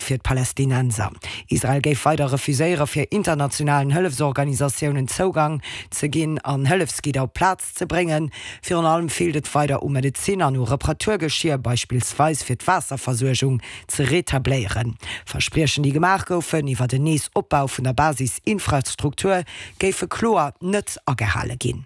fir d'Palästinenser. Israel géif weider refuséiere fir internationalen Hëllefsorganisatiounen Zougang ze ginn an Hëllefsgidder op d'Plaz ze bréngen. Virun allem feelt et weider u Medezin an u Reparaturgeschier, beispillsweis fir d'Waasserversuergung ze retabléieren. Verspriechen déi gemaach goufen iwwert en Nees-Opbau vun der Basisinfrastruktur géife kloer net agehale ginn.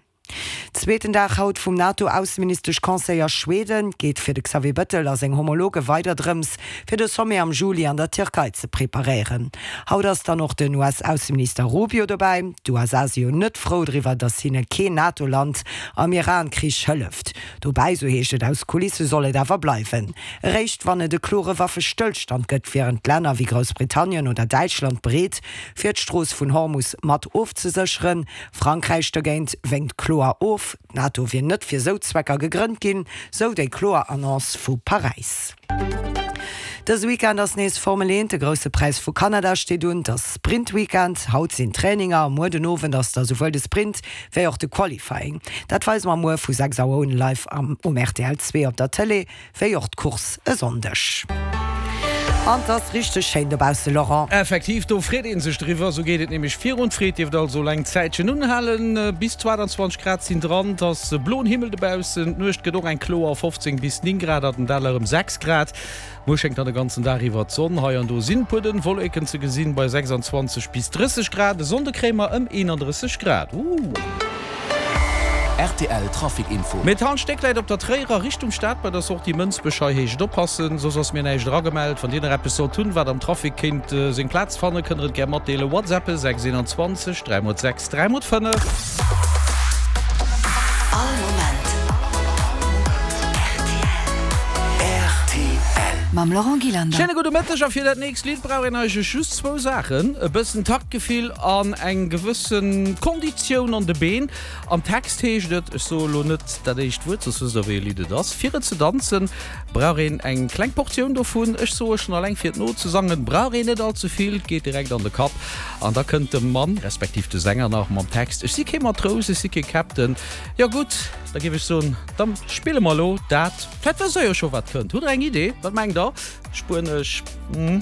Zweeten Dag haut vum NATO-Ausseministesch-Conseil a Schweden. Geet fir de Xavier Bëttel a seng Homologe weider drëms, fir de Sommet am Juli an der Tierkei ze preparéieren. Haut ass dann och den US-Ausseminister Rubio dobäi. D'USA si jo net frou driwwer, datt hinne keen NATO-Land am Iran-Krich hëlleft. Dobäi, sou heescht et aus Kulisse, soll et awer bleiwen. Eréischt wann et e klore Waffestëllstand gëtt, wieren d'Länner wéi Groussbritannien oder Däitschland bereet, fir d'Strooss vun Hormus mat ofzesécheren. Frankräich dogéint wénkt kloer of. D'NATO wier net fir sou Zwecker gegrënnt ginn, sou déi kloer Annonce vu Paräis. Dëse Weekend ass nees Formel 1, de Grousse Präis vu Kanada steet un. Et ass Sprint-Weekend, haut sinn Traininger a muer den Owend ass da souwuel de Sprint wéi och de Qualifying. Dat weise mer muer vu 6 Auer un live am um rtl 2 op der Tëlee. Wéi och d'Course e Sonndeg. An 't ass richteg schéin dobausse, Laurent. Effektiv, do freet een sech driwwer. Sou geet et nämlech virun. D'Freed dierft also eng Zäitchen unhalen. Bis 22 Grad sinn dran, 't ass bloen Himmel dobaussen. D'Nuecht gëtt och eng kloer, 15 bis 9 Grad, an den Däller erëm 6 Grad. Muer schéngt dann de ganzen Dag iwwer d'Sonn. Hei an do sinn puer dënn Wolleken ze gesinn, bei 26 bis 30 Grad. E Sonnde kréie mer ëm 31 Grad. Ooh! Rtl Trafic Info. Mee d'Halstéck läit op der Tréierer Richtung Stad bei der Sortie Mënsbech. Hei heescht et oppassen, soss ass mir näischt eragemellt. Wann Dir nach eppes sollt hunn, wat am Trafic kéint seng Plaz fannen, kënnt der et gär matdeelen. WhatsAppen 6 21 3 x 6 3 x 5. All Moment rtl. Mam Laurent Gillander. Schéine gudde Mëtteg a fir dat nächst Lidd brauch een eigentlech just zwou Saachen, e bëssen Taktgefill an eng gewëssen Konditioun an de Been. Am Text heescht et, ech soe lo net dat éischt Wuert, soss wësst der wéi e Lidd et ass, fir et ze danzen brauch een eng kleng Portioun dovun, ech soe schonn alleng fir et nozesangen brauch een net all ze vill, et geet direkt an de Kapp. An da kënnt de Mann, respektiv de Sänger nach mam Text, ech si kee Matrous, ech si kee Captain. Jo gutt, da géif ech soen, da spille mer elo dat. Vläit wësst der jo scho wat kënnt. Hutt der eng Idee? Wat mengt der? Spuenesch, hm,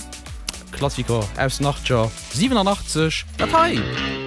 Klassiker aus den Achtger, 87, dat hei!